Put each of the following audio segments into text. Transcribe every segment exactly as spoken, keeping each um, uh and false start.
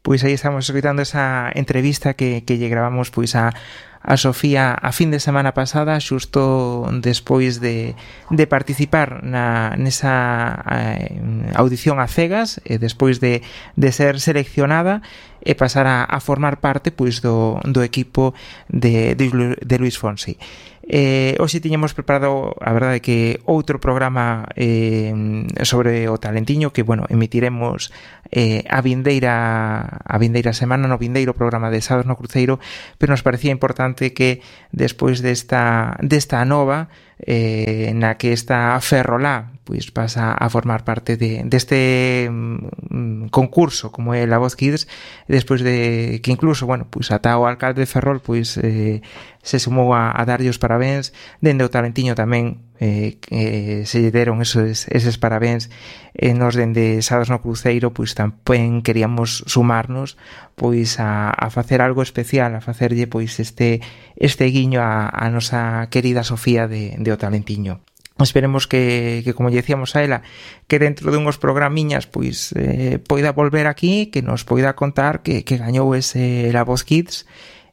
Pois aí estamos escoitando esa entrevista que, que lle gravamos pois a a Sofía a fin de semana pasada, xusto despois de, de participar na, nesa eh, audición a cegas, e despois de, de ser seleccionada e pasar a, a formar parte pois do, do equipo de, de, de Luís Fonsi. Eh, hoxe tiñamos preparado, a verdade, que outro programa eh, sobre o talentiño que, bueno, emitiremos eh, a vindeira a vindeira semana no vindeiro programa de Sábados no Cruceiro, pero nos parecía importante que despois desta desta nova eh, na que esta Ferrolá pois pasa a formar parte de deste mm, concurso como é La Voz Kids, despois de que incluso, bueno, pois ata o alcalde de Ferrol pois eh, se sumou a, a darlle os parabéns, dende o talentiño tamén eh, que se lle deron esos, eses parabéns, e nos dende Sábados no Cruceiro pois tamén queríamos sumarnos pois a, a facer algo especial, a facerlle pois este este guiño a, a nosa querida Sofía de, de o talentiño. Esperemos que, que como lle decíamos a ela, que dentro de unhos programiñas pois eh, poida volver aquí, que nos poida contar que, que gañou ese La Voz Kids,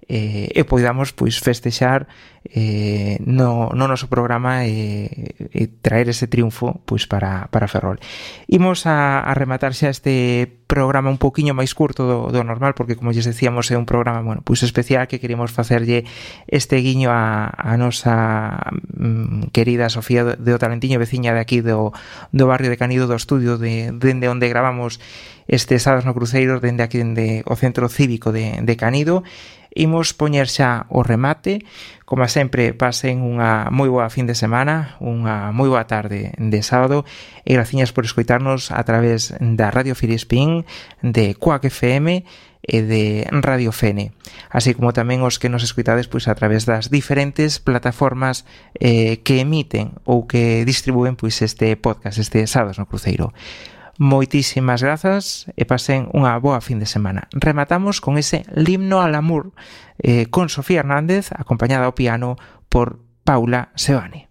eh, e poidamos pois festexar eh, no, no noso programa e, e traer ese triunfo pois para, para Ferrol. Imos a, a rematar xa este programa un poquinho máis curto do, do normal, porque como lles decíamos é un programa, bueno, pois especial, que queremos facerlle este guiño a, a nosa mm, querida Sofía de o Talentiño, veciña de aquí do, do barrio de Canido, do estudio de, dende onde gravamos este Sábados no Cruceiro, dende aquí dende o Centro Cívico de, de Canido. Imos poñer xa o remate. Como sempre, pasen unha moi boa fin de semana, unha moi boa tarde de sábado, e graciñas por escoitarnos a través da Radio Filispín, de Quack F M e de Radio Fene, así como tamén os que nos escoitades pois a través das diferentes plataformas eh, que emiten ou que distribúen pois este podcast, este Sábados no Cruceiro. Moitísimas grazas e pasen unha boa fin de semana. Rematamos con ese L'Himno al Amour eh, con Sofía Hernández, acompañada ao piano por Paula Seoane.